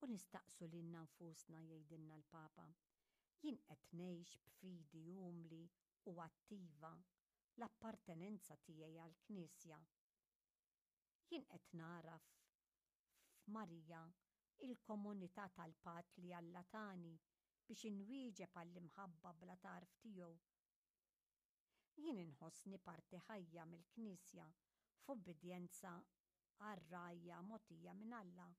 U nistaqsu lilna nfusna jgħidilna l-Papa, jien qed ngħix b'fidi umli u attiva l-appartenenza tiegħi għall-Knisja. Jien qed nagħraf f'Marija il-komunità tal-patt li Alla tani biex inwieġeb għall-imħabba bla tarf tiegħu. Jien inħossni parti ħajja mill-Knisja f'ubbidjenza għar-rgħajja mogħtija minn Alla.